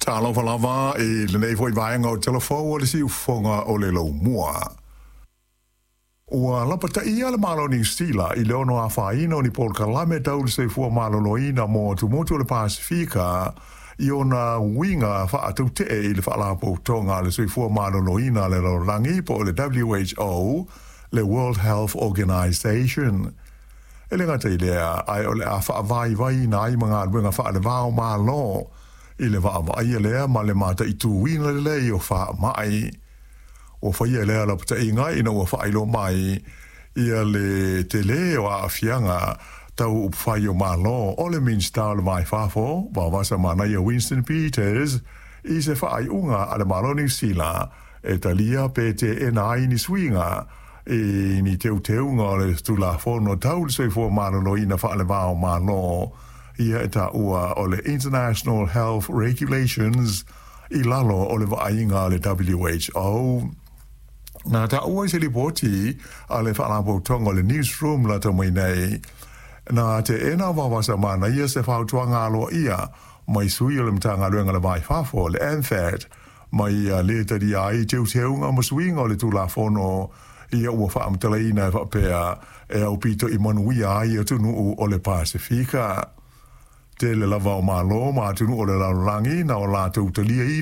Talofa lava i lenei foi vaega o Talafou o le Siufofoga o le Laumua. Ua lapataia le Malo o Niu Sila i le ono afaina o ni polokalame tau le soifua maloloina mo atumotu o le Pasefika i ona uiga faatautee i le Faalapotopotoga a le Soifua Maloloina a le Lalolagi po o le WHO, le World Health Organization. E le gata i lea, ae o le a faavaivaiina ai ma galuega faaleva o Malo i le vaavaaia lea ma le mataituina lelei o faamai. Ua faia lea lapataiga ina ua faailoa mai ia le tele o aafiaga tau upufai o Malo o le Minisita o le Va i Fafo, Vaovasa Manaia Winston Peters, i se faaiuga a le Malo o Niu Sila e talia pe teena ai ni suiga i ni teuteuga o le Tulafono tau le Soifua Maloloina faaleva o Malo, ia e taua o le International Health Regulations i lalo o le vaaiga a le WHO. Na taua i se lipoti a le Faalapotopotoga o le Newsroom lata mai nei, na teena e Vaovasa Manaia se fautuaga aloaia mai sui o le Matagaluega o le Va i Fafo, le MFAT, ma ia lē talia ai teuteuga ma suiga o le Tulafono ia ua faamatalaina e faapea e aupito i manuia ai atunuu o le Pasefika. Tele lava o Malo ma atunuu o le lalolagi na o latou taliaina